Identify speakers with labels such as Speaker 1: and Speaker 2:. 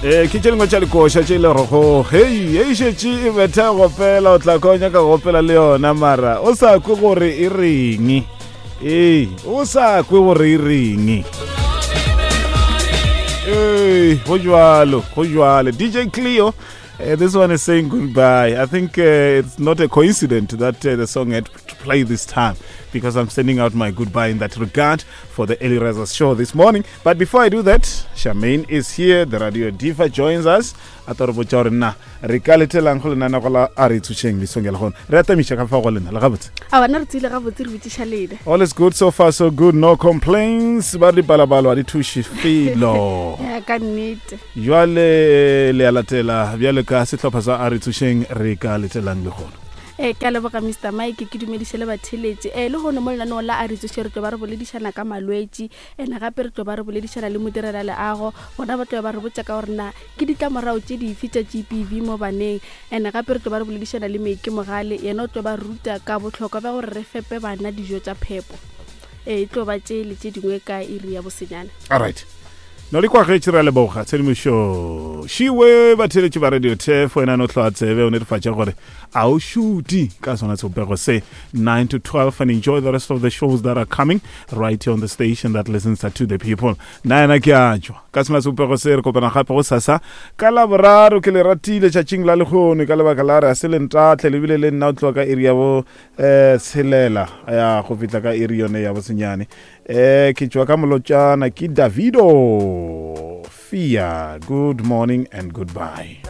Speaker 1: Ee, ke tše dingwe tša dikoša tše e le gorego hei e šetše e betha gopela o tla kwa o nyaka go opela le yona mara o sa kwe gore e reng ee o sa kwe gore e reng ee go jwalo go jwalo dj cleo Uh, this one is saying goodbye. I think uh, it's not a coincidence that uh, the song had to play this time because I'm sending out my goodbye in that regard for the Early Risers show this morning. But before I do that, Charmaine is here. The Radio Diva joins us. A tlo re botša gore na re ka letelang go lenanego la a re tsošeng mesong ya lehono. Re atamiša ka fa go lena le gabotse.
Speaker 2: A bana re tsile gabotse re botšiša lena.
Speaker 1: All is good so far so good no complaints. Ba re dipalabalo ga di thuše felo.
Speaker 2: Ya ka nnete.
Speaker 1: Jwale le a latela bjale ka sehlopha sa a re tsošeng re ka letelang lehono.
Speaker 2: E, ke a leboga Mr Mike, ke dumediše le batheeletši. E, lehono mo lenaneong la a re tsoše re tlo ba re boledišana ka malwetši, ene gape re tlo ba re boledišana le modirelaleago, bona ba tlo ba re botša ka gore na ke ditlamorago tše dife tša GBV mo baneng, ene gape re tlo ba re boledišana le Meiki Mogale, yena o tlo ba ruta ka bohlokwa bja gore re fepe bana dijo tša phepo. E, e tlo ba tše le tše dingwe ka iri ya bosenyane.
Speaker 1: Alright. No le kwagetše re a leboga tshedimošo šiwe batheeletši ba radio tef wena no hloa tsebe o netefatša gore a o šuti ka sona sebopego se 9 to 12 and enjoy the rest of the shows that are coming right here on the station that listens to the people na yena ke a tšwa ka sona sebopego se re kopana gape go sasa ka laboraro ke le ratile tšatšing la lehono ka lebaka la re a se le ntatle lebile le nna o tloga ka iri ya bo um tshelela ya go fihla ka iri yone ya bosenyane Eh, ke tšwa ka molotšana ke Davido Fia. Good morning and goodbye.